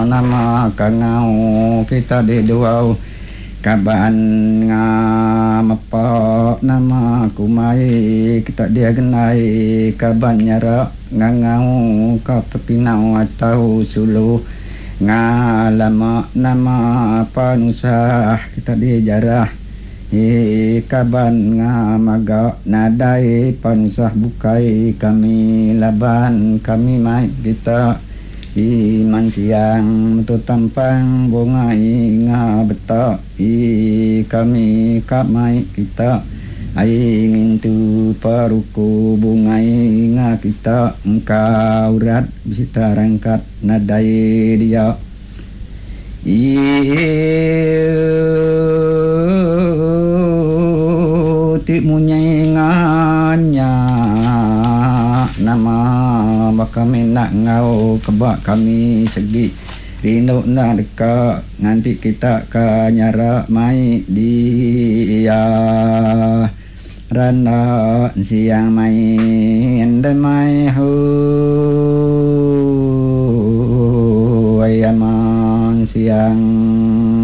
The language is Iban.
Nama kangau kita di duau kaban nga mepa nama kumai kita dia gendai kaban nyara ngangau ka pepinau atau sulu nga lama nama panusah kita di jarah i kaban nga maga nadai panusah bukai kami laban kami mai kita. I man siang metu tampang bunga inga beta i kami ka mai kita ai ngintu peruku bungai inga kita engka urat besita rangkat nadai dia i ti munyi nganya nama baka mina enggau keba kami segi rindu enda deka nganti kita ka nyara mai dia randa siang mai enda mai hoo.